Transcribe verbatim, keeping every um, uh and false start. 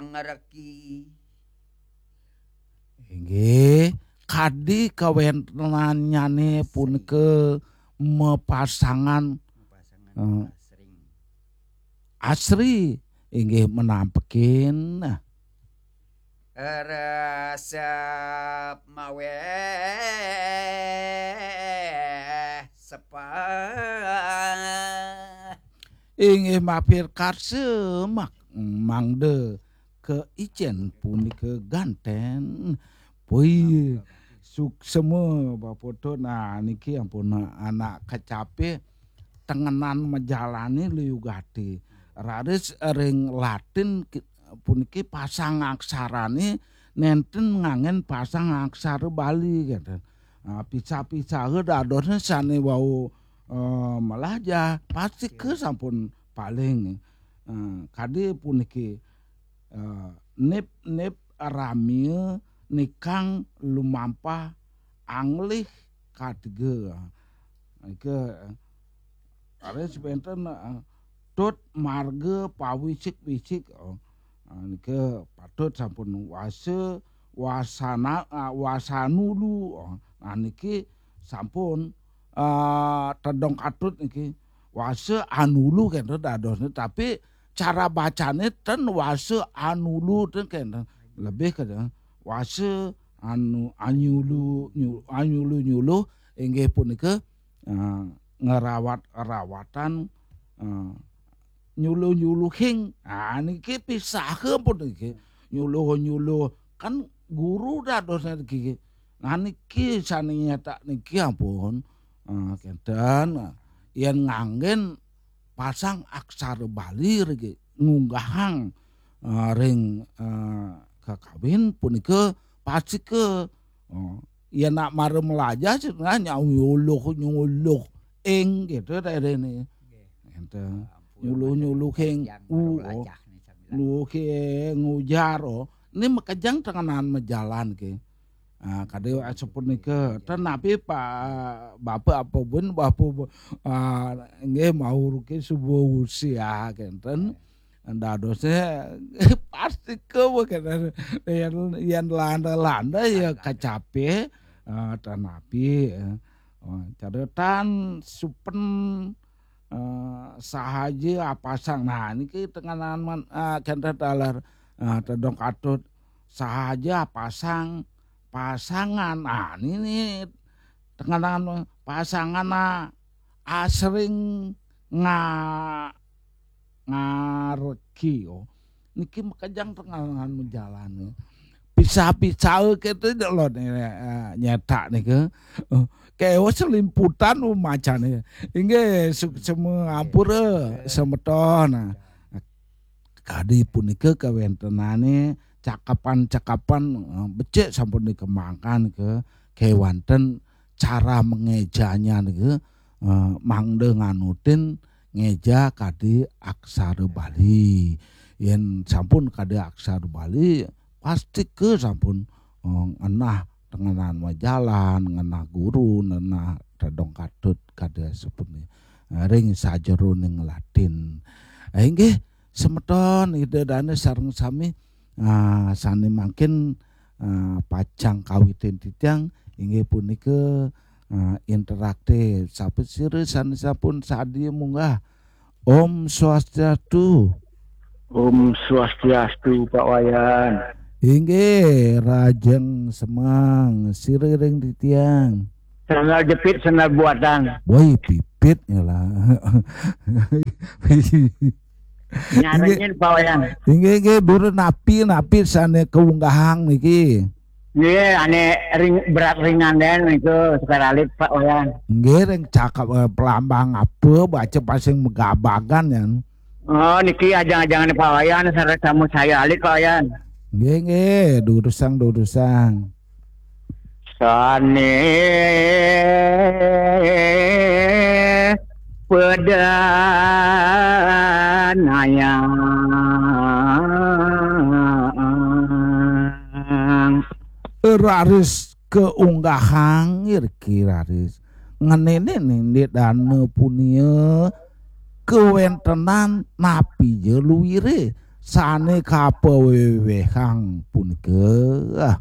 Ngreki. Inggih, kadi kawéntenannyané punika mapasangan, eh, asring. Asri, inggih menampekin. Resep maweh sepah. Inggih mapir karsa mak-, mangda keicén punika gantén. Pui, suksema bapa to. Nah, niki ampun anak kecapé tengenan majalané liu gati. Raris ring Latin ki-, puniki pasang aksarané nénten nganggén pasang aksara Bali, gitu. Nah, pisah-pisaha dadosné sané wau, eh, melajah, pastika sampun paling, eh, kadi puniki, eh, nip-nip ramia nikang lumampah anglih katiga. Nika, ada sebentar, eh, tut marga pawisik-wisik, oh. Ah, nika patut sampun wasa, wasana, ah, wasanulu, oh. Nah, niki sampun, ah, tedong katut niki. Wasa anulu kenten dadosné, tapi cara bacané ten wasa anulu ten kenten. Lebih ke wasa anu anyulu, nyu-, anyulu-nyuluh inggih punika, ah, ngerawat-rawatan, ah, nyuluh-nyuluhing. Ah, niki pisaha pun niki. Nyuluh-nyuluh kan guru dadosné niki. Nah, niki sané nyetak niki ampun, eh, kenten, yén nganggén pasang aksara Bali niki ngunggahang, eh, ring, eh, kakawin punika pastika, eh, yén nak mara melajah sih, nah, nyuluh-nyuluh ing gitu teh ini. Nggih. Enten. Ampun, nyuluh-nyuluhing, makejang u, baru oh. Lajah nih sambilan. Nyuluhing ujar, oh. Ini makejang tengenan majalan ke. Ah, kadi asapunika. Ten napi Pak Bapak apa pun, Bapak, ah, nggih, mauruke subuh usia kenten. Dadosnya pastika kenten. Yén, yén landa-landa ya kacape, ah, ten napi, eh. Oh, caretan supen, eh, sahaja apasang. Nah, niki tengenan man-, eh, kenten taler, eh, tedong katut sahaja apasang, pasangan. Nah, niki tengenan pasangan, nah, asring nga-, ngareki, oh. Niki makejang tengahan majalan. Pisah-pisah kéto lho, eh, nyetak nika. Eh, kéweh selimputan, oh, macané. Inggih, suksema ampura semeton. Nah, kadi punika kawéntenané cakapan-cakapan, eh, becik sampun dikembangkan ke kéwanten cara mengejanya nika, eh, mangda nganutin ngeja kadi aksara Bali. Yén sampun kadi aksara Bali, pastika sampun, eh, ngenah tengenan majalan, ngenah guru, ngenah tedong katut kadi sapunika. Eh, ring sajeroning Latin. Eh, inggih, semeton Ida Dané sareng sami, ah, sané mangkin, ah, pacang kawitin titiang inggih punika, ah, interaktif. Sapasira sané sampun sadia munggah? Om Swastiastu. Om Swastiastu, Pak Wayan. Inggih, rajeng semeng, sira ring titiang. Sandal jepit, sandal buatan. Woi, pipit ngelah. Nyarengin, Pak Wayan. Inggih, inggih, durus napi, napi sané kaunggahang niki. Nggih, ané ring, berat ringan dén niku, sekar alit, Pak Wayan. Nggih, ring cakap, eh, pelambang apa, baca pasing megabagan, yan. Oh, niki ajang-ajangan Pak Wayan, sareng tamu saya alit, Pak Wayan. Nggih, nggih, durusang, durusang. Sané pedanayang. Raris kaunggahang iriki raris. Ngenénin Ida Dané punia kawéntenan napi ja luiré. sané kapawéwéhan punika.